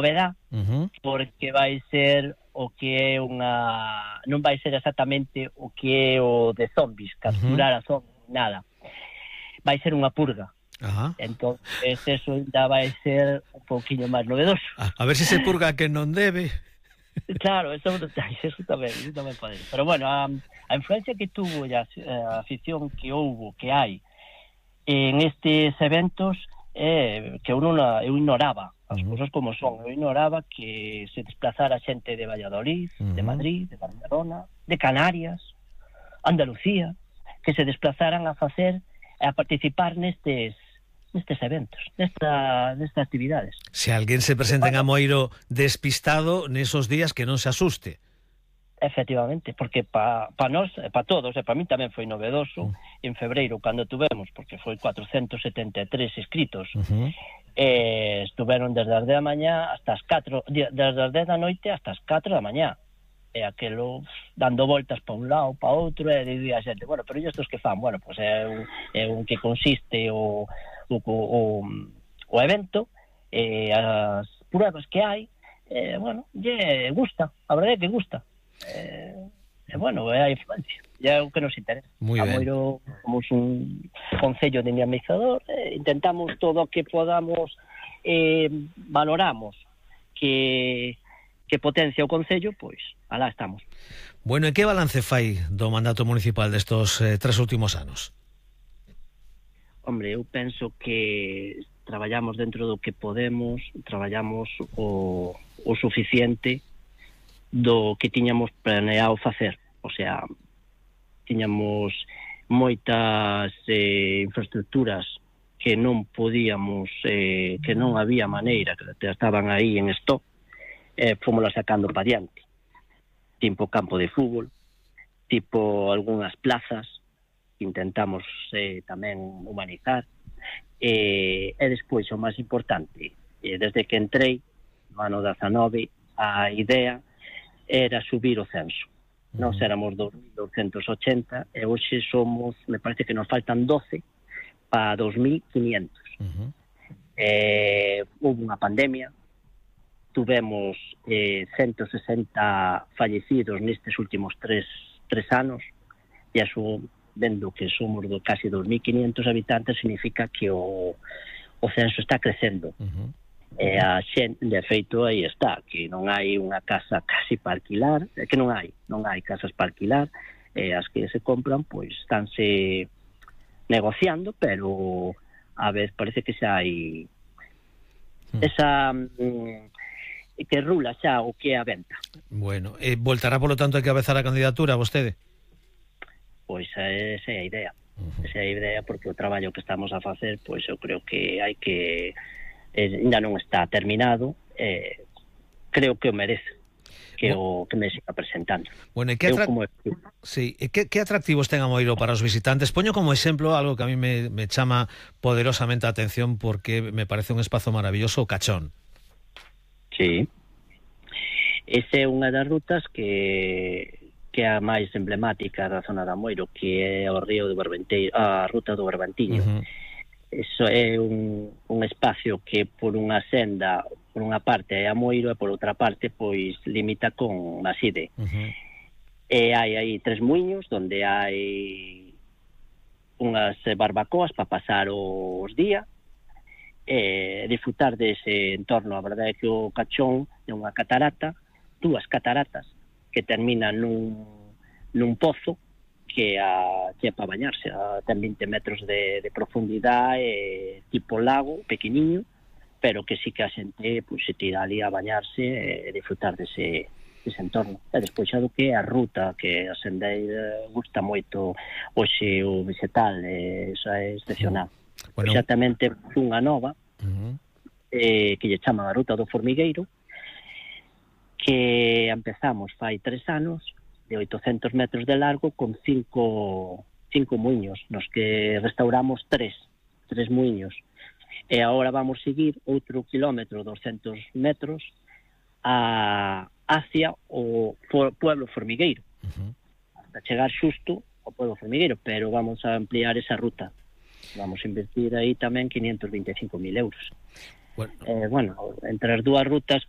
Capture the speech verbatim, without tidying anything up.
novedad, uh-huh. porque vai ser o que é unha... non vai ser exactamente o que é o de zombies, capturar uh-huh. a zombies, nada. Vai ser unha purga. Ajá. Entonces eso ainda vai ser un pouquiño máis novedoso. A, a ver se se purga que non debe. Claro, eso, eso tamén, eso tamén pode. Pero bueno, a, a influencia que tuvo e a, a afición que houbo, que hai en estes eventos, é que eu, non, eu ignoraba as uh-huh. cousas como son. Eu ignoraba que se desplazara xente de Valladolid, uh-huh. de Madrid, de Barcelona, de Canarias, Andalucía, que se desplazaran a facer, a participar nestes nestes eventos, nesta, nestas actividades. Se alguén se presenta en Amoeiro despistado nesos días, que non se asuste. Efectivamente, porque para pa nós, para todos, e para mí tamén foi novedoso, uh-huh. en febreiro, cando tuvemos, porque foi cuatrocentos setenta e tres inscritos, uh-huh. eh, estuveron desde as dez da mañá hasta as catro, desde as dez da noite hasta as catro da mañá, e aquelo dando voltas para un lado, para outro, e dicía a xente, bueno, pero e estos que fan? Bueno, pois pues é un, é un que consiste o O, o, o evento, eh, as pruebas que hai, eh, bueno, lle gusta, a verdade é que gusta, eh, e bueno, é a influencia, é o que nos interesa. Amoeiro, somos un concello dinamizador, eh, intentamos todo o que podamos, eh, valoramos que que potencia o concello, pois alá estamos. Bueno, e que balance fai do mandato municipal destos eh, tres últimos anos? Hombre, eu penso que traballamos dentro do que podemos, traballamos o, o suficiente do que tiñamos planeado facer. O sea, tiñamos moitas eh, infraestructuras que non podíamos, eh, que non había maneira, que estaban aí en stock, eh, fomosla sacando para diante. Tipo campo de fútbol, tipo algunhas plazas, intentamos eh, tamén humanizar, eh, e despois o máis importante, eh, desde que entrei no ano dezanove, a idea era subir o censo. Uh-huh. Nós éramos dos mil douscentos ochenta e hoxe somos, me parece que nos faltan doce para dos mil quinientos. Uh-huh. eh, houve unha pandemia, tuvemos eh, ciento sesenta fallecidos nestes últimos tres, tres anos, e eso, vendo que somos do casi dos mil quinientos habitantes, significa que o, o censo está crecendo. Uh-huh. E a xente, de feito, aí está, que non hai unha casa casi para alquilar, que non hai, non hai casas para alquilar, e as que se compran, pois, estánse negociando, pero a vez parece que xa hai esa mm, que rula xa o que é a venta. Bueno, eh, voltará, polo tanto, a cabezar a candidatura vostede? Pois esa é a idea. Uh-huh. Esa é a idea, porque o traballo que estamos a facer, pois eu creo que hai que eh, ainda non está terminado, eh, creo que o merece que o que me siga presentando. Bueno, e que, atra... como... sí, e que, que atractivos ten Amoeiro para os visitantes? Poño como exemplo algo que a mí me, me chama poderosamente a atención, porque me parece un espazo maravilloso, o Cachón. Sí. Esa é unha das rutas que que é a máis emblemática da zona de Amoeiro, que é o río do Berbenteiro, a ruta do Berbantiño. Uh-huh. Eso é un, un espacio que por unha senda, por unha parte é Amoeiro e por outra parte pois limita con Maside. Uh-huh. E hai aí tres muiños onde hai unhas barbacoas para pasar os días e disfrutar dese entorno. A verdade é que o Cachón é unha catarata, dúas cataratas que terminan nun, nun pozo que, a, que é para bañarse, a, ten vinte metros de, de profundidade, e tipo lago, pequeniño, pero que sí que a xente pues, se tira ali a bañarse e disfrutar dese, dese entorno. E despois xa do que é a ruta, que a sendeira gusta moito hoxe o vegetal, e xa é excepcional. Bueno, xa tamén temos unha nova, uh-huh. eh, que lle chaman a ruta do Formigueiro, que empezamos fai tres anos, de oitocentos metros de largo, con cinco, cinco muiños, nos que restauramos tres, tres muiños. E agora vamos seguir outro kilómetro, doscientos metros, a, hacia o pueblo Formigueiro, uh-huh. hasta chegar xusto ao pueblo Formigueiro, pero vamos a ampliar esa ruta. Vamos a invertir aí tamén quinientos veinticinco mil euros. Bueno. Eh, bueno, entre as dúas rutas que